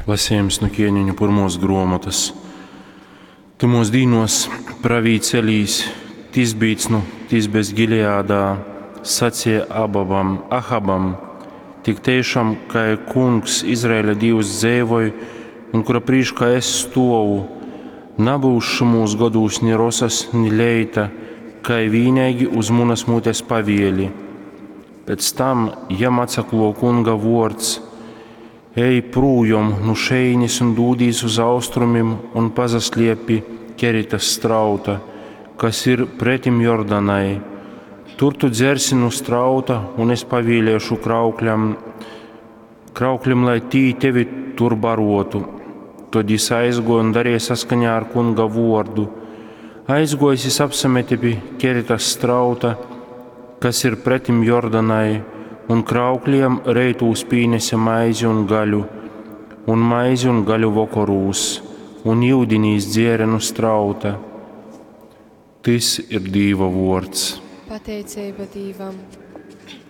Lasījums nu ķieniņu pirmos gruomotys. Tymuos dīnuos pravīts Elīs, Tisbīts nu Tisbes Gileādā, saceja Ababam, Ahabam: Tik teišam, kai Kungs, Izraeļa Dīvs, dzeivoj un kura prīškā es stuovu, nabyus šymūs godūs ni rosas, ni leita, kai vīneigi uz munas mutes pavieli. Pēc tam jam atsakluo Kunga vuords: Ej prūjom nu šejīnis un dūdīs uz austrumim un pasasliep pi Keritas strauta, kas ir pretim Jordanai. Tur tu dzersi nu strauta, un es pavieliešu kraukļam, krauklim, lai tī tevi tur barotu. Tod jis aizguoja un darīja saskaņā ar kunga vuordu. Aizguojis jis apsamete pi Keritas strauta, kas ir pretim Jordanai, un kraukliem reitūs pīnese maizi un gaļu, un maizi un gaļu vokorūs, un yudini jis dzēre nu strauta. Tys ir Dīva vuords. Pateiceiba Dīvam.